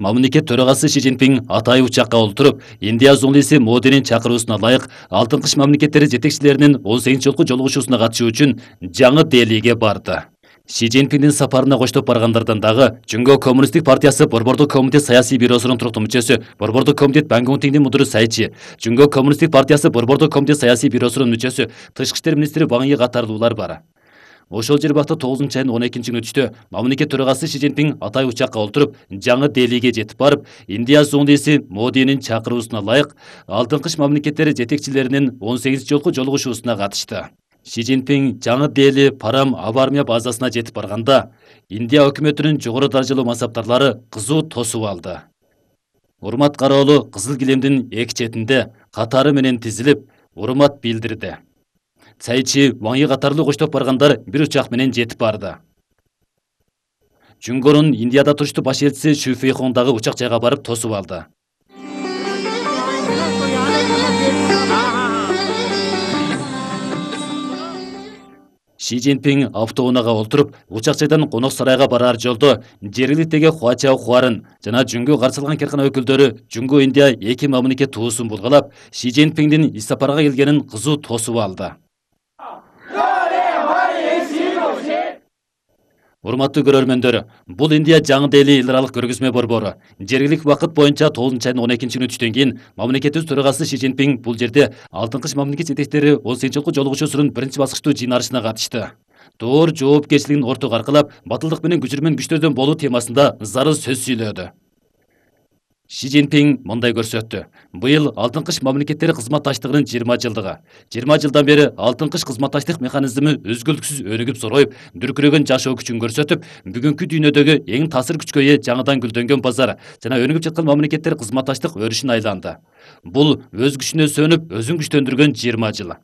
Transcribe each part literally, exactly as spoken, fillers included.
Мамлекет төрагасы Си Цзиньпин атайы учакка олтуруп, Индия зоңлиси Модинин чакыруусуна ылайык Алтын кыш мамлекеттери жетекчилеринин он сегизинчи жолку жолугушуусуна катышуу үчүн жаңы Делиге барды. Си Цзиньпиндин сапарына коштоп баргандардан дагы Жүнгө Коммунисттик партиясы Борбордук комитет саясий бюросунун туруктуу мүчөсү, Борбордук комитет Бангунтиңдин мудуру Сайчи, Жүнгө Коммунисттик партиясы Борбордук комитет саясий бюросунун мүчөсү, Тышкы иштер министри Ваң Йи катарлуулар бар. Ошол жербакта тогузунчу айдын он экинчи күнү түштө мамлекет төрагасы Си Цзиньпин атайы учакка олтуруп, жаңы Делиге жетип барып, Индия зоңлиси Модинин чакыруусуна ылайык Алтын кыш мамлекеттери жетекчилеринин он сегизинчи жолку жолугушуусуна катышты. Си Цзиньпин жаңы Дели Парам аба армия базасына жетип барганда, Индия өкмөтүнүн жогору даражалуу мансаптарлары кызуу тосуп алды. Урмат кароолу кызыл килемдин эки четинде катары менен тизилип, урмат билдирди. Сайчи, Ваң Йи катарлуу коштоп баргандар бир учак менен жетип барды. Жүнгөрүн Индияда туруштуу баш элчиси Шу Фейхон дагы учак жайга барып тосуп алды. Си Цзиньпин автоунаага олтуруп, учак жайдан конок сарайга барар жолдо жергиликтеги Хуачао Хуарын жана Жүнгө каршы алган керкана өкүлдөрү Жүнгө Индия эки мамлекет туусун булгалап, Си Цзиньпиндин ис сапарга келгенин кызуу тосуп алды. Урматтуу көрөрмөндөр, бул Индия жаңы Дели эл аралык көргөзмө борбору. Жергиликтик убакыт боюнча тогузунчу айдын он экинчи күнү түштөн кийин мамлекетибиз төрагасы Си Цзиньпин бул жерде Алтын кыш мамлекет жетекчилери он сегизинчи жолку жолугушуусунун биринчи баскычтуу жыйналышына катышты. Доор жоопкерчилигин ортого аркылап, батылдык менен күчүрмөн күчтөрдөн болуу темасында зарыл сөз сүйлөдү. Си Цзиньпин мындай көрсөттү. Быйыл Алтын кыш мамлекеттери кызматташтыгынын жыйырма жылдыгы. жыйырма жылдан бери Алтын кыш кызматташтык механизми өзгөлтүксүз өнүгүп зороюп, дүркүрөгөн жашоо күчүн көрсөтүп, бүгүнкү дүйнөдөгү эң таасир күчкө ээ жаңыдан гүлдөнгөн базар жана өнүгүп жаткан мамлекеттер кызматташтык өрүшүнө айланды. Бул өз күчүнө сөнүп, өзүн күчтөндүргөн жыйырма жыл.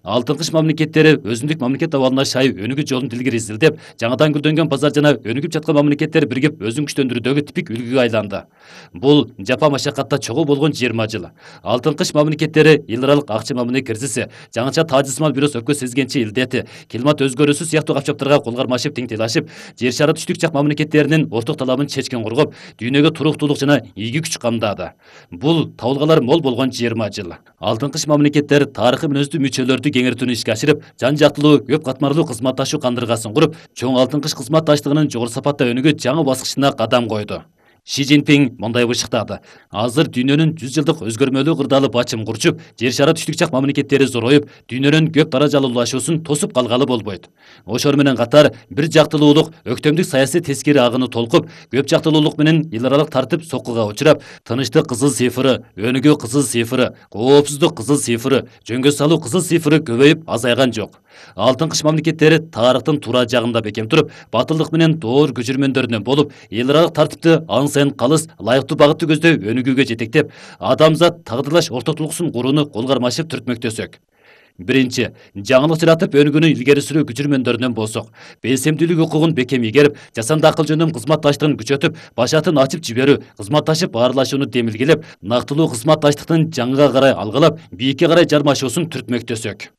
Алтын кыш мамлекеттери өзүндүк мамлекет абалына шай өнүгүү жолун илгери изилдеп, жаңыдан гүлдөнгөн базар жана өнүгүп жаткан мамлекеттер биригип өзүн күчтөндүрүүдөгү типик үлгүгө айланды. Бул жапа машакатта чогуу болгон жыйырма жыл. Алтын кыш мамлекеттери эл аралык акча мамиле кризиси, жаңыча таажысмал бирос өпкө сезгенчи илдети, климат өзгөрүүсү сыяктуу капчаптарга кол кармашып теңтелашып, жер шары түштүк жак мамлекеттеринин орток талабын чечкен кургоп, дүйнөгө туруктуулук жана ийгий күч камдады. Бул табылгалар мол болгон жыйырма жыл. Алтын кыш мамлекеттер тарыхый мүнөздүү мүчөлөрдү кеңейтүүнү ишке ашырып, жан жактылуу, көп катмарлуу кызматташуу кандыргасын куруп, чоң Алтын кыш кызматташтыгынын жогору сапатта өнүгүү жаңы баскычына кадам койду. Си Цзиньпин мындай бышыктады. Азыр дүйнөнүн жүз жылдык өзгөрмөлүү кырдаалы бачым курчуп, жер шары түштүк жак мамлекеттери зороюп, дүйнөнүн көп даражалуулашуусун тосуп калгалы болбойт. Ошол менен катар бир жактылуулук, өктөмдүк саясий тескери агыны толкуп, көп жактылуулук менен эл аралык тартип соккуга учурап, тынычтык кызыл цифры, өнүгүү кызыл цифры, коопсуздук кызыл цифры, жөнгө салуу кызыл цифры көбөйүп азайган жок. Алтын кыш мамлекеттери тарыхтын туура жагында бекем туруп, батылдык менен доор көчүрмөндөрүнөн болуп, эл аралык тартипти аң сайын калыс, лайыктуу багытты көздөй өнүгүүгө жетектеп, адамзат тагдырлаш ортоктулуксун курууну кол кармашып түртмөктөсөк. Биринчи, жаңылык жаратып өнүгүүнү илгери сүрүү күчүрмөндөрүнөн болсок, белсемдүүлүк укугун бекем игерип, жасанды акыл жөндөм кызматташтыгын күчөтүп, башатын ачып жиберүү, кызматташып баарлашууну демилгелеп, нактылуу кызматташтыктын жаңыга карай алгылап, бийикке карай жармашуусун түртмөктөсөк.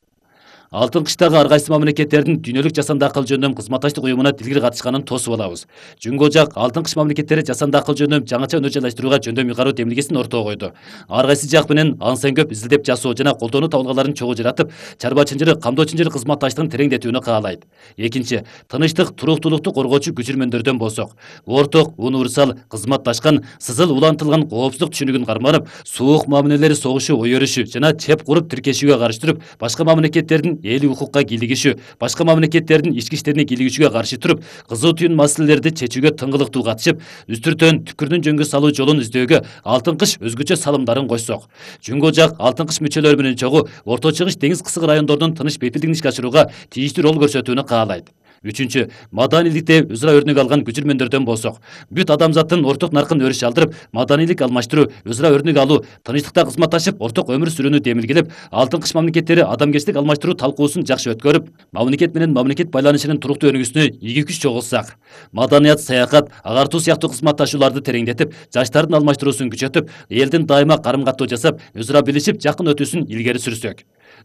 Алтын кыштагы ар кайсы мамлекеттердин дүйнөлүк жасанды акыл жөндөм кызматташтык уюмуна тилгир катышканын тосуп алабыз. Жүнгө жак Алтын кыш мамлекеттери жасанды акыл жөндөм жаңыча өнөр-жайлаштырууга жөндөм ыйгаруу демилгесин ортого койду. Ар кайсы жак менен аң сайын көп изилдеп жасоо жана колдонуу табылгаларын чогуу жаратып, чарба чынжыр, камдоо чынжыр кызматташтыгын тереңдетүүнү каалайт. Экинчи, тынычтык, туруктуулукту коргоочу күчүрмөндөрдөн болсок, орток, универсал, кызматташкан, сызыл улантылган коопсуздук түшүнүгүн карманып, суук мамилелери согушу ой өрүшү жана чеп куруп тиркешүүгө каршы туруп, башка мамлекеттердин элдик укукка кийлигишүү, башка мамлекеттердин ички иштерине кийлигишүүгө каршы туруп, кызуу түйүн маселелерди чечүүгө тыңгылыктуу катышып, үстүртөн түкүрдүн жөнгө салуу жолун издөөгө Алтын кыш өзгөчө салымдарын койсок, Жүнгө жак Алтын кыш мүчөлөрү менен чогуу Орто Чыгыш деңиз кысык райондордун тыныч бейпилдигин ишке ашырууга тийиштүү рол көрсөтүүнү каалайт. Үчүнчү, маданийликте өзара өрнөк алган күчүрмөндөрдөн болсок, бүт адамзаттын орток наркын өрүш алдырып, маданийлик алмаштыруу, өзара өрнөк алуу, тынычтыкта кызматташып, орток өмүр сүрүүнү демилгелеп, Алтын кыш мамлекеттери адамгерчилик алмаштыруу талкуусун жакшы өткөрүп, мамлекет менен мамлекет байланышынын туруктуу өнүгүүсүнө ийгий күч чогултсак, маданият, саякат, агартуу сыяктуу кызматташууларды тереңдетип, жаштардын алмаштыруусун күчөтүп, элдин дайыма карым каттоо жасап, өзара билишип, жакын өтүүсүн илгери сүрсөк,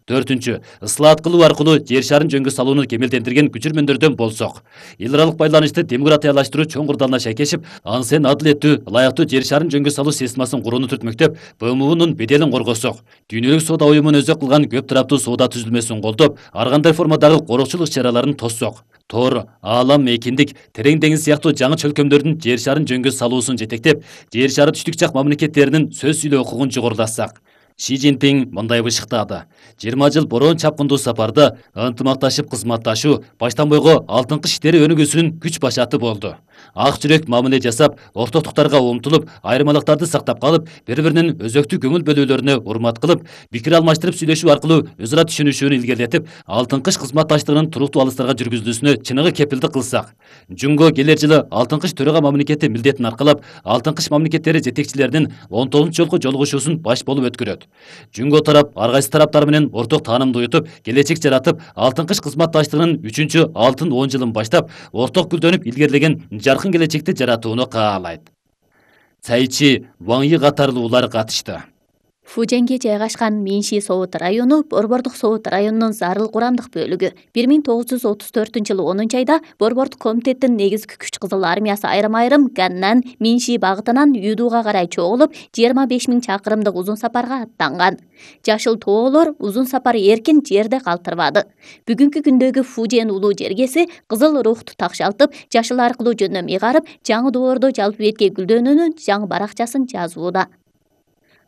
Төртүнчү, ыслаат кылуу аркылуу жер шарын жөнгө салууну кемелдендирген көчүрмөндөрдөн болсок. Эл аралык байланышты демократиялаштыруу чоң курдалына шайкешип, ансен адилеттүү, ылайыктуу жер шарын жөнгө салуу системасын курууну түртмөктөп, Б М Унун беделин коргосок. Дүйнөлүк соода уюмун өзөк кылган көп тараптуу соода түзүлмөсүн колдоп, ар кандай формадагы корукчулук иш-чараларын тоссок. Тор, Аалам, Экиндик, Терең деңиз сыяктуу жаңы чөлкөмдөрдүн жер шарын жөнгө салуусун жетектеп, жер шары түштүк жак мамлекеттеринин сөз сүйлөө укугун жогорулатсак. Ши Цзиньпин мындай бышыктады. жыйырма жыл бороон чапкындуу сапарда ынтымакташып кызматташуу баштан бойго алтынкы иштери өнүгүүсүнүн күч башаты болду. Ак жүрөк мамиле жасап, ортоктуктарга умтулуп, айырмалыктарды сактап калып, бири-биринин өзөктүү көңүл бөлүүлөрүнө урмат кылып, пикир алмаштырып сүйлөшүү аркылуу өз ара түшүнүшүүнү илгерилетип, алтынкы иш кызматташтыгынын туруктуу алыстарга жүргүзүлүүсүнө чыныгы кепилдик кылсак. Жунго келер жылы алтынкы иш төрага мамлекети милдетин аркалап, алтынкы иш мамлекеттери жетекчилеринин он тогузунчу жолку жолугушуусун баш болуп өткөрөт. Жунго тарап ар кайсы тараптар менен орток таанымды уютуп, келечек жаратып, алтынкы иш кызматташтыгынын үчүнчү алтын он жылын баштап, орток гүлдөнүп илгерилеген жаркын келечекти жаратууну каалайт. Цайчи, Ваң Йи катарлуулар катышты. Фуженге жайгашкан Минши Соот району Борбордук Соот районунун зарыл курамдык бөлүгү. бир миң тогуз жүз отуз төртүнчү жылы онунчу айда Борбордук комитеттин негизги күч Кызыл армиясы айрым-айрым Ганнан Минши багытынан Юдууга карай чогулуп, жыйырма беш миң чакырымдык узун сапарга аттанган. Жашыл тоолор узун сапар эркин жерде калтырбады. Бүгүнкү күндөгү Фужен улуу жергеси кызыл рухту такшалтып, жашыл аркылуу жөнөм ыйгарып, жаңы доордо жалпы бетке гүлдөнүүнүн жаңы баракчасын жазууда.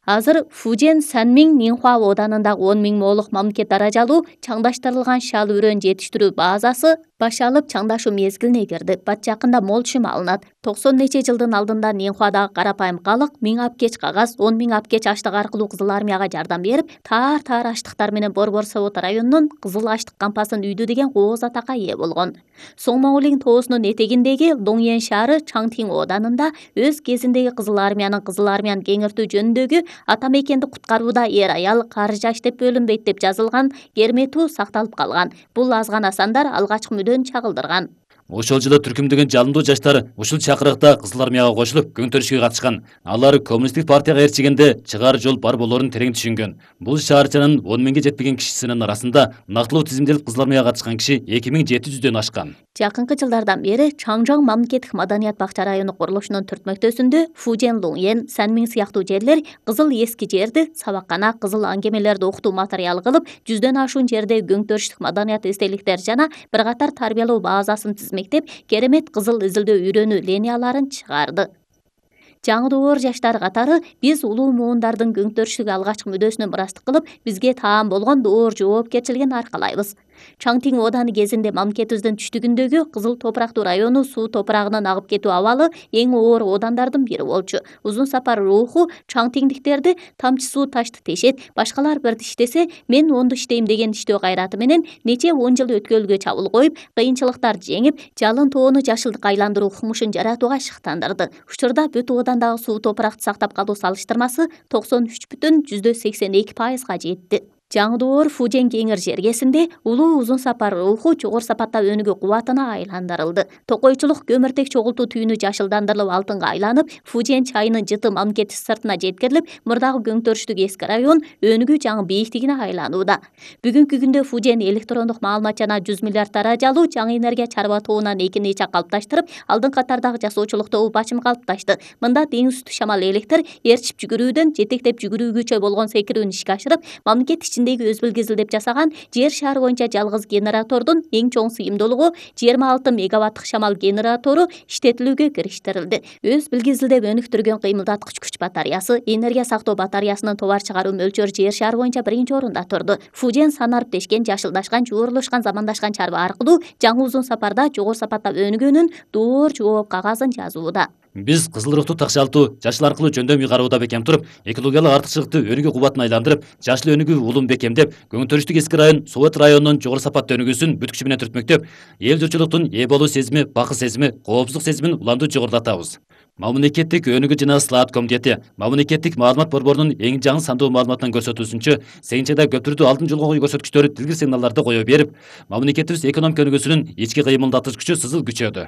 Азыр Фужен Санмиң Нинхуа оданындагы он миң моолук мамлекет даражалуу чаңдаштырылган шал үрөн жетиштирүү базасы баш алып чаңдашуу мезгилине кирди. Бат жакында мол чым алынат. токсон нече жылдын алдында Нинхуадагы карапайым калык миң апкеч кагаз, он миң апкеч аштык аркылуу Кызыл армияга жардам берип, таар-таар аштыктар менен Борбор Соот районунун кызыл аштык кампасын үйдү деген кооз атакка ээ болгон. Соңмоулин тоосунун этегиндеги Доңьен шаары Чаңтиң оданында өз кезиндеги Кызыл армиянын Кызыл армияны кеңиртүү жөнүндөгү ата мекенди куткарууда эр аял кары жаш деп бөлүнбөйт деп жазылган керметүү сакталып калган. Бул аз гана сандар алгачкы мүдөн чагылдырган. Ошол жылы түркүмдөгөн жалындуу жаштар ушул чакырыкта Кызыл армияга кошулуп, көң төрүшкө катышкан. Алар коммунисттик партияга ээрчигенде чыгаар жол бар болоорун терең түшүнгөн. Бул шаарчанын он миңге жетпеген кишисинин арасында нактылуу тизимделип Кызыл армияга катышкан киши эки миң жети жүздөн ашкан. Жакынкы жылдардан бери Чаңжоң мамлекеттик маданият бакча району курулушунун түртмөктөсүндө Фужен, Луңьен, Санмиң сыяктуу жерлер кызыл эски жерди сабаккана, кызыл аңгемелерди окутуу материалы кылып, жүздөн ашуун жерде көң төрүштүк маданият эстеликтер жана бир катар тарбиялоо базасын тизмектеп, керемет кызыл изилдөө үйрөнүү линияларын чыгарды. Жаңы доор жаштар катары биз улуу муундардын көң төрүштүк алгачкы мүдөөсүнө мурастык кылып, бизге таан болгон доор жоопкерчилигин аркалайбыз. Чаңтиң ооданы кезинде мамлекетибиздин түштүгүндөгү кызыл топурактуу району суу топурагынын агып кетүү абалы эң оор оодандардын бири болчу. Узун сапар руху чаңтиңдиктерди тамчы суу ташты тешет, башкалар бир иштесе, мен онду иштейм деген иштөө кайраты менен нече он жыл өткөлгө чабыл коюп, кыйынчылыктарды жеңип, жалын тоону жашылдыкка айландыруу кумушун жаратууга шыктандырды. Учурда бүт оодандагы суу топуракты сактап калуу салыштырмасы токсон үч бүтүн жүздөн сексен эки пайызга жетти. Жаңы доор Фужен кеңир жергесинде улуу узун сапар руху жогору сапатта өнүгүү кубатына айландырылды. Токойчулук көмүртек чогултуу түйүнү жашылдандырылып алтынга айланып, Фужен чайынын жыты мамлекет сыртына жеткирилип, мурдагы көң төрүштүк эски район өнүгүү жаңы бийиктигине айланууда. Бүгүнкү күндө Фужен электрондук маалымат жана жүз миллиард даражалуу жаңы энергия чарба тобунан экинчи чак калыпташтырып, алдын катардагы жасоочулукта бачым калыпташты. Мында деңиз үстү шамал электр ээрчип жүгүрүүдөн жетектеп жүгүрүүгүчө болгон секирүүнү ишке ашырып, мамлекет ичиндеги өз билгизилдеп жасаган жер шары боюнча жалгыз генератордун эң чоң сыйымдуулугу жыйырма алты мегаваттык шамал генератору иштетилүүгө кириштирилди. Өз билгизилдеп өнүктүргөн кыймылдаткыч күч батареясы, энергия сактоо батареясынын товар чыгаруу мөлчөрү жер шары боюнча биринчи орунда турду. Фужен санарып тешкен, жашылдашкан, жуурулушкан, замандашкан чарба аркылуу жаңы узун сапарда жогору сапатта өнүгөнүн доор жооп кагазын жазууда. Биз кызыл рухту такшалтуу, жашыл аркылуу жөндөм ыйгаруууда бекем туруп, экологиялык артыкчылыкты өнүгүү кубатына айландырып, жашыл өнүгүү улун бекемдеп, көң төрүштүк эски район Соот районунун жогору сапатта өнүгүүсүн бүт күчү менен түртмөктөп, эл журтчулуктун ээ болуу сезими, бакыт сезими, коопсуздук сезимин улантуу жогорулатабыз. Мамлекеттик өнүгүү жана ыслаат комитети Мамлекеттик маалымат борборунун эң жаңы сандуу маалыматынан көрсөтүүсүнчө, сегизинчи айда көп түрдүү алдын жолгоо көрсөткүчтөрү дилгир сигналдарды кое берип, мамлекетибиз экономика өнүгүүсүнүн ички кыймылдаткыч күчү сызыл күчөдү.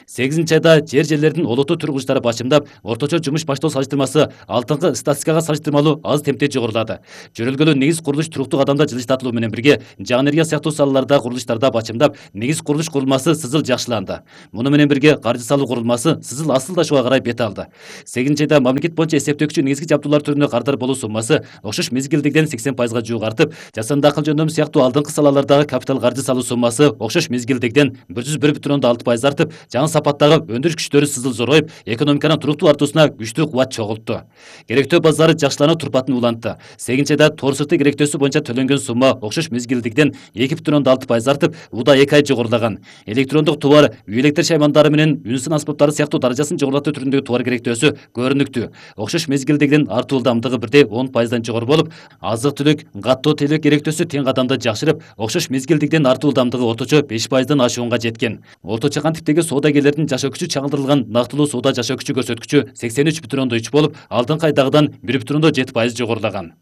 сегизинчи айда жер жерлердин олуттуу тургучтары башымдап, орточо жумуш баштоо салыштырмасы алдыңкы статистикага салыштырмалуу аз темпте жогорулады. Жөнөлгөлүү негиз курулуш туруктуу кадамда жылыштатылуу менен бирге, жаңы энергия сыяктуу салаларда курулуштарда бачымдап, негиз курулуш курулмасы сызыл жакшыланды. Муну менен бирге каржы салуу курулмасы сызыл асылдашууга карай бет алды. сегизинчи айда мамлекет боюнча эсептөөкчү негизги жабдуулар түрүнө кардар болуу суммасы окшош мезгилдегиден сексен пайызга жуук артып, жасанды акыл жөндөмү сыяктуу алдыңкы салалардагы капитал каржы салуу суммасы окшош мезгилдегиден бир жүз бир бүтүн ондон алты пайыз артып, жаңы сапаттагы өндүрүш күчтөрү сызыл зоройуп, экономиканын туруктуу артуусуна күчтүү кубат чогултту. Керектөө базары жакшылануу турпатын улантты. сегизинчи айда тоор сырты керектөөсү боюнча төлөнгөн сумма окшош мезгилдегиден эки бүтүн ондон алты пайыз артып, уда эки ай жогорулаган. Электрондук товар, үй электр шаймандары менен үн сын аспаптары сыяктуу даражасын жогорулатуу түрүндөгү товар керектөөсү көрүнүктүү. Окшош мезгилдегиден артуу ылдамдыгы бирдей он пайыздан жогору болуп, азык-түлүк, каттоо тейлөө керектөөсү тең кадамда жакшырып, окшош мезгилдегиден артуу ылдамдыгы орточо беш пайыздан ашуунга жеткен. Орточо кантиптеги соодагерлердин жашоо күчү чагылдырылган нактылуу соода жашоо күчү көрсөткүчү сексен үч бүтүн ондон үч болуп, алдыңкы айдагыдан бир бүтүн ондон жети пайыз жогорулаган.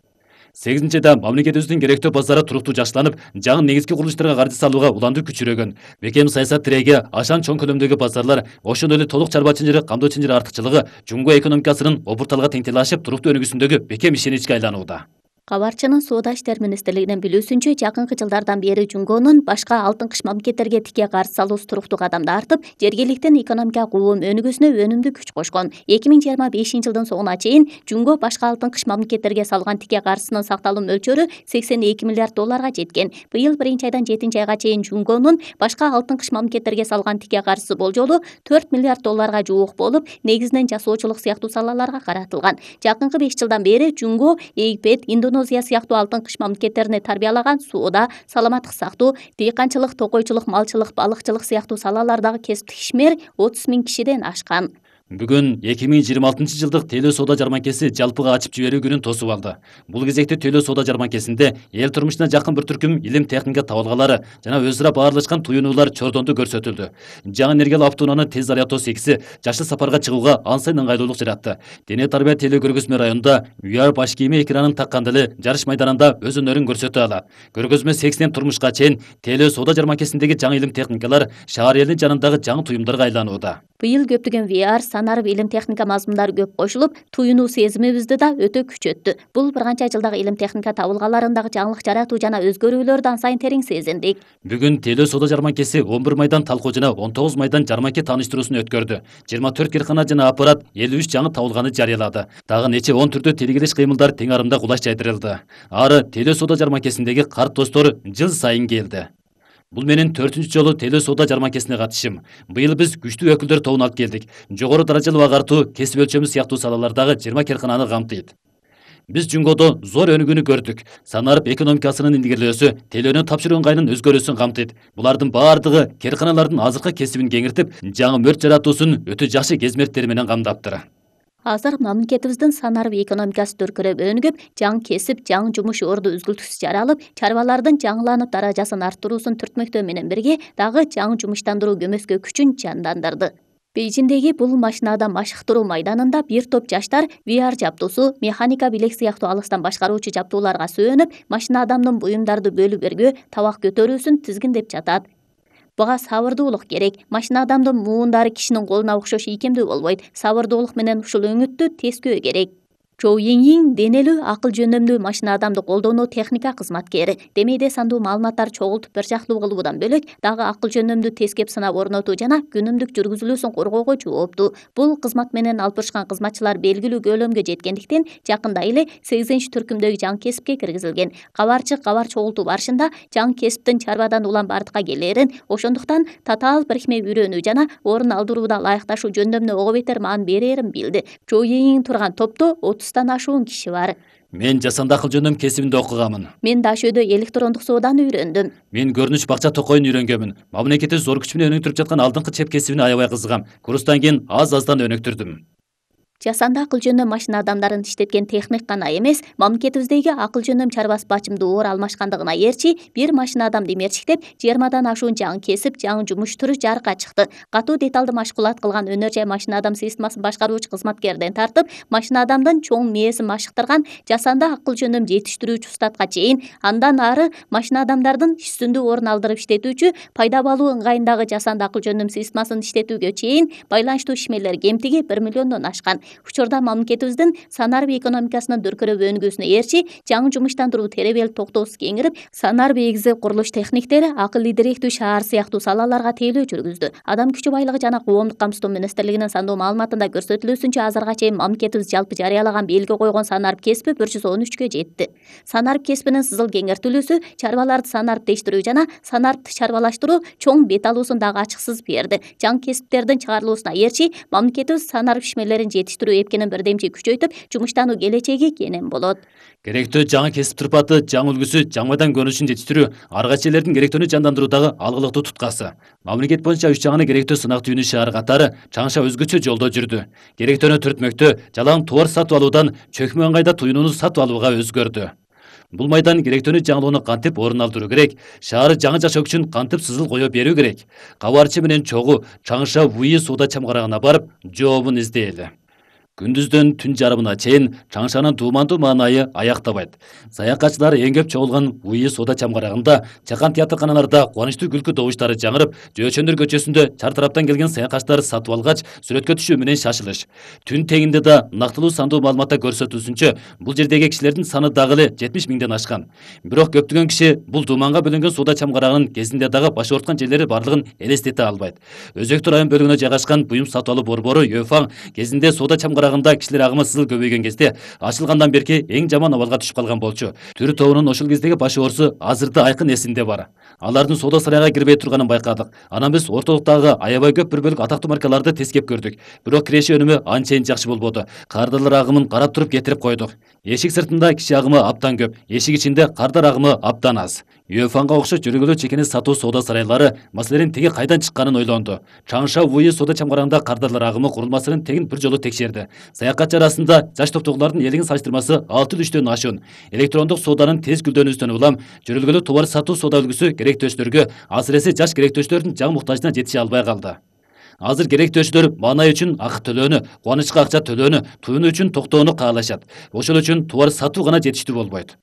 сегизинчи айда мамлекетибиздин керектөө базары туруктуу жакшыланып, жаңы негизги курулуштарга каржы салууга уланды күчүрөгөн. Бекем саясат тиреги, ашан чоң көлөмдөгү базарлар, ошондой эле толук чарбачылык, камдоо чынжыр артыкчылыгы Жумго экономикасынын обурталга теңтели ашып, туруктуу өнүгүүсүндөгү бекем ишеничке айланууда. Кабарчынын Соода иштери министрлигинин билүүсүнчө, жакынкы жылдардан бери Жумгонун башка алтын кыш мамлекеттерге тике каржы салуусу туруктуу кадамда артып, жергиликтен экономика куум өнүгүүсүнө өнүмдүү күч кошкон. эки миң жыйырма бешинчи жылдын соңуна чейин Жумго башка алтын кыш мамлекеттерге салган тике каржысынын сакталуу мөлчөрү сексен эки миллиард долларга жеткен. Быйыл биринчи айдан жетинчи айга чейин Жумгонун башка алтын кыш мамлекеттерге салган тике каржысы болжолу төрт миллиард долларга жуук болуп, негизинен жасоочулук сыяктуу салаларга каратылган. Жакынкы беш жылдан бери Жумго Египет, Индонезия сыяктуу алтын кыш мамлекеттерине тарбиялаган соода, саламаттык сактоо, дыйканчылык, токойчулук, малчылык, балыкчылык сыяктуу салалардагы кесиптик ишмер отуз миң кишиден ашкан. Бүгүн эки миң жыйырма алтынчы жылдык тейлөө соода жарманкеси жалпыга ачып жиберүү күнүн тосуп алды. Бул кезекте тейлөө соода жарманкесинде эл турмушуна жакын бир түркүм илим техника табылгалары жана өз ара баарлашкан туюнуулар чордонду көрсөтүлдү. Жаңы энергиялык автоунааны тез зарядтоо секси жашы сапарга чыгууга ансайын ыңгайлуулук жаратты. Дене тарбия тейлөө көргөзмө районунда ви ар баш кийими экранын такканда эле жарыш майданында өз өнөрүн көрсөтө алат. Көргөзмө сексинен турмушка чейин тейлөө соода жарманкесиндеги жаңы илим техникалар шаар элинин жанындагы жаңы туюмдарга айланууда. Быйыл көптөгөн ви ар санарып илим техника мазмундары көп кошулуп, туюнуу сезимибизди да өтө күчөттү. Бул бир канча жылдагы илим техника табылгаларындагы жаңылык жаратуу жана өзгөрүүлөрдү ансайын терең сезиндик. Бүгүн тейлөө соода жарманкеси он бир майдан талкуу жана он тогуз майдан жарманке тааныштыруусун өткөрдү. жыйырма төрт киркана жана аппарат элүү үч жаңы табылганы жарыялады. Дагы нече он түрдө тилгелеш кыймылдар тең арымда кулаш жайдырылды. Ары тейлөө соода жарманкесиндеги карт достор жыл сайын келди. Бул менин төртүнчү жолу тейлөө соода жарманкесине катышым. Быйыл биз күчтүү өкүлдөр тобун алып келдик. Жогору даражалуу агартуу, кесип өлчөмү сыяктуу салалардагы жыйырма киркананы камтыйт. Биз Жумгодо зор өнүгүүнү көрдүк. Санарып экономикасынын илгерилөөсү, тейлөөнүн тапшыруу ыңгайынын өзгөрүүсүн камтыйт. Булардын баардыгы кирканалардын азыркы кесибин кеңиртип, жаңы мөрт жаратуусун өтө жакшы кезмерттери менен камдаптыр. Азыр мамлекетибиздин санарып экономикасы төркүрөп өнүгүп, жаңы кесип, жаңы жумуш орду үзгүлтүксүз жаралып, чарбалардын жаңыланып даражасын арттыруусун түртмөктөө менен бирге дагы жаңы жумуштандыруу көмөскө күчүн жандандырды. Бейжиндеги бул машинада машыктыруу майданында бир топ жаштар ви ар жабдуусу, механика билек сыяктуу алыстан башкаруучу жабдууларга сүйөнүп, машина адамдын буюмдарды бөлүп бергөө, табак көтөрүүсүн тизгиндеп жатат. Буга сабырдуулук керек. Машина адамдын муундары кишинин колуна окшош ийкемдүү болбойт. Сабырдуулук менен ушул өңүттү тескөө керек. Чоу Йиньин денелүү акыл жөндөмдүү машина адамды колдонуу техника кызматкери. Демейде сандуу маалыматтар чогултуп бир жактуу кылуудан бөлөк, дагы акыл жөндөмдүү тескеп сынап орнотуу жана күнүмдүк жүргүзүлүүсүн коргоого жооптуу. Бул кызмат менен алпышкан кызматчылар белгилүү көлөмгө жеткендиктен, жакында эле сегизинчи түркүмдөгү жаңы кесипке киргизилген. Кабарчы кабар чогултуу барышында жаңы кесиптин чарбадан улам бардыкка келерин, ошондуктан татаал бирикме үйрөнүү жана орун алдырууда ылайыкташуу жөндөмүнө ого бетер маан берерин билди. Чоу Йиньин турган топто отуздан ашуун киши бар. Мен жасанды акыл жөндөм кесибинде окуганмын. Мен Дашөдө электрондук сооданы үйрөндүм. Мен көрүнүш бакча токоюн үйрөнгөнмүн. Мамлекетти зор күч менен өнүктүрүп жаткан алдыңкы чеп кесибине аябай кызыгам. Курстан кийин аз-аздан өнүктүрдүм. Жасанды акыл жөнөм машина адамдарын иштеткен техник гана эмес, мамлекетибиздеги акыл жөнөм чарбас бачымды оор алмашкандыгына ээрчи бир машина адам демерчиктеп жыйырмадан ашуун жаңы кесип, жаңы жумуш түрү жарыкка чыкты. Катуу деталды машкулат кылган өнөр жай машина адам системасын башкаруучу кызматкерден тартып, машина адамдын чоң мээсин машыктырган жасанды акыл жөнөм жетиштирүүчү устатка чейин, андан ары машина адамдардын үстүндө орун алдырып иштетүүчү пайда болуу ыңгайындагы жасанды акыл жөнөм системасын иштетүүгө чейин байланыштуу ишмерлер кемтиги бир миллиондон ашкан. Учурда мамлекетибиздин санарбий экономикасынын дүркүрөп өнүгүүсүнө ээрчи жаңы жумуштандыруу теребел токтоосу кеңирип, санарбий эгизи курулуш техниктери акыллуу директүү шаар сыяктуу салаларга тейлөө жүргүздү. Адам күчү байлыгы жана коомдук камсыздоо министрлигинин сандоо маалыматында көрсөтүлүүсүнчө азырга чейин мамлекетибиз жалпы жарыялаган белги койгон санарб кесиби бир жүз он үчкө жетти. Санарб кесибинин сызыл кеңиртилүүсү чарбаларды санарбтештирүү жана санарбты чарбалаштыруу чоң бет алуусун дагы ачыксыз берди. Жаңы кесиптердин чыгарылуусуна ээрчи мамлекетибиз санарб ишмерлерин жетиштирүү эпкенин бирдемчи күчөйтүп, жумуштануу келечеги кенен болот. Керектүү жаңы кесип турпаты, жаңы үлгүсү, жаңы майдан көрүнүшүн жетиштирүү ар кайсы жерлердин керектүүнү жандандыруудагы алгылыктуу туткасы. Мамлекет боюнча үч жагына керектүү сынак түйүнү шаар катары Чаңша өзгөчө жолдо жүрдү. Керектүүнү түртмөктө жалаң товар сатып алуудан чөкмө ыңгайда туюнууну сатып алууга өзгөрдү. Бул майдан керектүүнү жаңылоону кантип орун алдыруу керек, шаары жаңы жашоо үчүн кантип сызыл кое берүү керек. Кабарчы менен чогуу Чаңша ВУИ соода чамгарагына барып, жообун издейли. Күндүздөн түн жарымына чейин Чаңшанын дуумандуу маанайы аяктабайт. Саякатчылар эң көп чогулган ВУИ соода чамгарагында чакан театрканаларда кубанычтуу күлкү добуштары жаңырып, Жөөчөндөр көчөсүндө чар тараптан келген саякатчылар сатып алгач, сүрөткө түшүү менен шашылыш. Түн тегинде да нактылуу сандуу маалыматта көрсөтүлсүнчө, бул жердеги кишилердин саны дагы эле жетимиш миңден ашкан. Бирок көптөгөн киши бул дууманга бөлөнгөн соода чамгарагынын кезинде дагы баш ооруткан жерлери барлыгын элестете албайт. Өзөктү район бөлүгүнө жайгашкан буюм сатып алуу борбору Йөфаң кезинде соода чамгарагында кишилер агымы сызыл көбөйгөн кезде ачылгандан берки эң жаман абалга түшүп калган болчу. Түр тобунун ошол кездеги баш оорусу азырда айкын эсинде бар. Алардын соода сарайга кирбей турганын байкадык. Анан биз ортодуктагы аябай көп бир бөлүк атактуу маркаларды тескеп көрдүк. Бирок киреше өнүмү анчейин жакшы болбоду. Кардарлар агымын карап туруп кетирип койдук. Эшик сыртында киши агымы абдан көп, эшик ичинде кардар агымы абдан аз. Йөфаңга окшош жүргүлүү чекени сатуу соода сарайлары маселенин теги кайдан чыкканын ойлонду. Чаңша ВУИ соода чамгарагында кардарлар агымы курулмасынын тегин бир жолу текшерди. Саякатчы арасында жаш топтогулардын элигин салыштырмасы алты үчтөн ашуун. Электрондук сооданын тез гүлдөнүүсүнөн улам жүргүлүү товар сатуу соода үлгүсү керектөөчүлөргө, асыресе жаш керектөөчүлөрдүн жаңы муктажына жетише албай калды. Азыр керектөөчүлөр маанай үчүн акы төлөөнү, кубанычка акча төлөөнү, туюну үчүн токтоону каалашат. Ошол үчүн товар сатуу гана жетиштүү болбойт.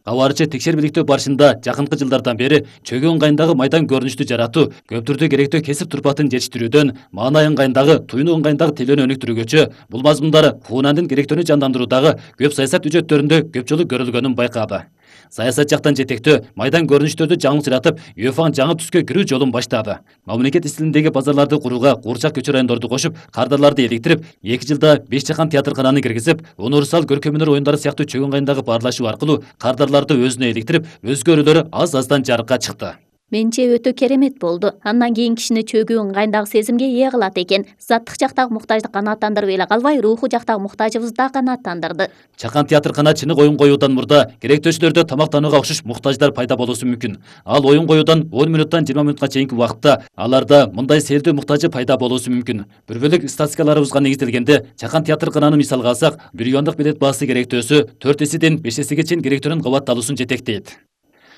Кабарчы текшербиликтөө барышында жакынкы жылдардан бери чөгөө ыңгайындагы майдан көрүнүштү жаратуу, көптүрдө керектөө кесип турпатын жетиштирүүдөн маанай ыңгайындагы, туюну ыңгайындагы тейлөөнү өнүктүрүүгөчө бул мазмундары Хуунандын керектөөнү жандандыруудагы көп саясат үчөттөрүндө көп жолу көрүлгөнүн байкады. Саясат жактан жетектөө майдан көрүнүштөрдү жаңылык жаратып, Йөфаң жаңы түскө кирүү жолун баштады. Мамлекет стилиндеги базарларды курууга куурчак көчө райондорду кошуп, кардарларды эликтирип, эки жылда беш чакан театркананы киргизип, универсал көркөм өнөр оюндары сыяктуу чөгөө ыңгайындагы баарлашуу аркылуу кардарларды өзүнө эликтирип, өзгөрүүлөрү аз-аздан жарыкка чыкты. Менче өтө керемет болду. Андан кийин кишини чөгүү ыңгайындагы сезимге ээ кылат экен. Заттык жактагы муктаждык канааттандырып эле калбай, руху жактагы муктажыбызды да канааттандырды. Чакан театркана чынык оюн коюудан мурда керектөөчүлөрдө тамактанууга окшош муктаждар пайда болуусу мүмкүн. Ал оюн коюудан он мүнөттөн жыйырма мүнөткө чейинки убакытта аларда мындай селдүү муктажы пайда болуусу мүмкүн. Бир бөлүк статистикаларыбызга негизделгенде, чакан театркананы мисалга алсак, бир юандык билет баасы керектөөсү төрт эседен беш эсеге чейин керектөөнүн кабатталуусун жетектейт.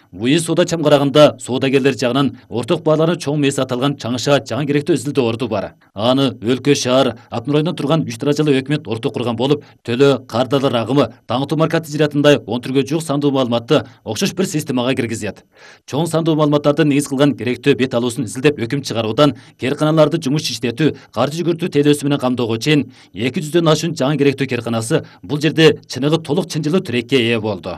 ВУИ соода чамгарагында соодагерлер жагынан орток баалары чоң мээси аталган Чаңша жаңы керектөө изилдөө орду бар. Аны өлкө, шаар, Алтын районунда турган үч даражалуу өкмөт орток курган болуп, төлөө, кардарлар агымы, таңытуу марка тижиратындай он түргө жук сандуу маалыматты окшош бир системага киргизет. Чоң сандуу маалыматтарды негиз кылган керектөө бет алуусун изилдеп өкүм чыгаруудан керканаларды жумуш иштетүү, каржы жүгүртүү тейлөөсү менен камдоого чейин эки жүздөн ашуун жаңы керектөө керканасы бул жерде чыныгы толук чынжылуу тирекке ээ болду.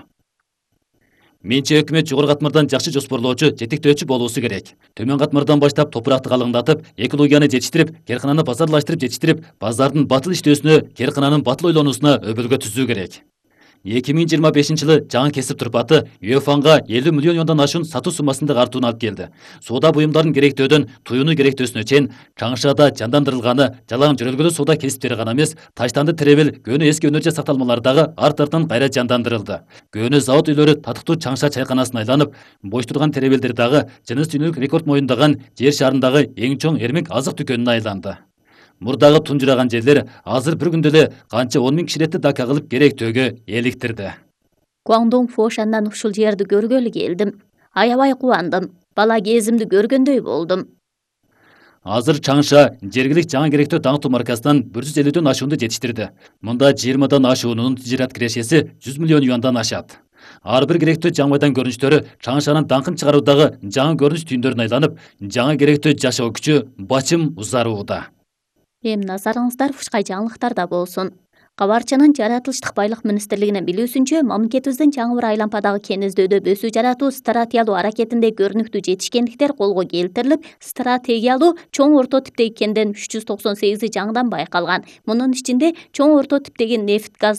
Менче өкмөт жогору катмардан жакшы жоспорлоочу, жетектөөчү болуусу керек. Төмөн катмардан баштап топуракты калыңдатып, экологияны жетиштирип, керкананы базарлаштырып жетиштирип, базардын батыл иштөөсүнө, керкананын батыл ойлонуусуна өбөлгө түзүү керек. эки миң жыйырма бешинчи жылы жаңы кесип турпаты Йөфаңга элүү миллион юандан ашуун сатуу суммасындагы артууну алып келди. Соода буюмдарын керектөөдөн туюну керектөөсүнө чейин Чаңшада жандандырылганы жалаң жөрөлгөлүү соода кесиптери гана эмес, таштанды теребел, көөнү эски өнөр жай сакталмалары дагы арт-артынан кайра жандандырылды. Көөнү завод үйлөрү татыктуу Чаңша чайканасын айланып, бош турган теребелдер дагы жыныс дүйнөлүк рекорд моюндаган жер шарындагы эң чоң эрмек азык дүкөнүнө айланды. Мурдагы тунжураган жерлер азыр бир күндө эле канча он миң киширетти дака кылып керектөөгө эликтирди. Гуандонг Фошандан ушул жерди көргөлү келдим. Аябай кубандым. Бала кезимди көргөндөй болдум. Азыр Чаңша жергилик жаңы керектөө таңтуу маркасынан бир жүз элүүдөн ашуунду жетиштирди. Мында жыйырмадан ашуунун тижират кирешеси жүз миллион юандан ашат. Ар бир керектөө жаңы майдан көрүнүштөрү Чаңшанын даңкын чыгаруудагы жаңы көрүнүш түйүндөрүнө айланып, жаңы керектөө жашоо күчү бачым узарууда. Эми назарыңыздар ушкай жаңылыктарда болсун. Кабарчынын жаратылыштык байлык министрлигинин билүүсүнчө, мамлекетибиздин чаңы бір айлампадагы кен издөдө өсүү жаратуу стратегиялуу аракетинде көрүнүктүү жетишкендиктер колго келтирилип, стратегиялуу чоң орто типтеги кенден үч жүз токсон сегизи жаңыдан байкалган. Мунун ичинде чоң орто типтеги нефть, газ